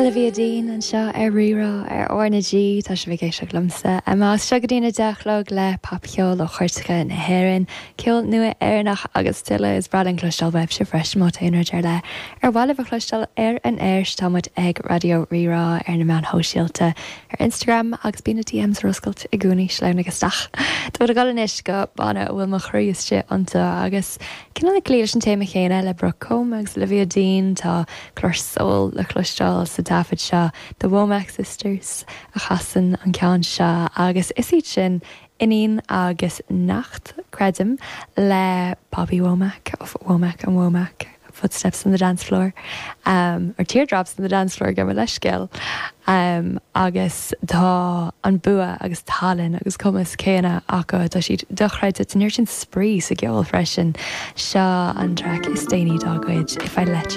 Olivia Dean anseo ar Rí-Rá ar R na G. Tá sibh ag éisteacht liomsa, Emma, as seo go dtí an 10 a chlog le popcheol ó chúirteacha na hÉireann, ceol nua Éireannach agus tuilleadh. Is breá linn cloisteáil uaibhse freisin má tá aon rud ar leith ar mhaith libh a chloisteáil ar an aer. Tá muid ag Raidió Rí-Rá ar na meáin shóisialta, ar Instagram agus bíonn na DMs ar oscailt i gcónaí, sleamhnaigh isteach. Tá muid ag dul anois go banna a bhfuil mo chroí istigh iontu agus cineál ag cloí leis an téama chéanna le Brooke Combe agus Olivia Dean, tá glór soul le cloisteáil sa taifead seo, The Womack Sisters a chasann an ceann seo agus is iad sin iníon agus neacht, creidim, le Bobby Womack of Womack and Womack, Footsteps on the Dance Floor, or Teardrops on the Dance Floor, gabh mo leithscéal. Agus tá an bua agus tallann agus cumas céanna acu, tá siad dochreidte, tá an oiread sin spraoi sa gceol freisin. Seo an traic is déanaí dá gcuid, If I Let You.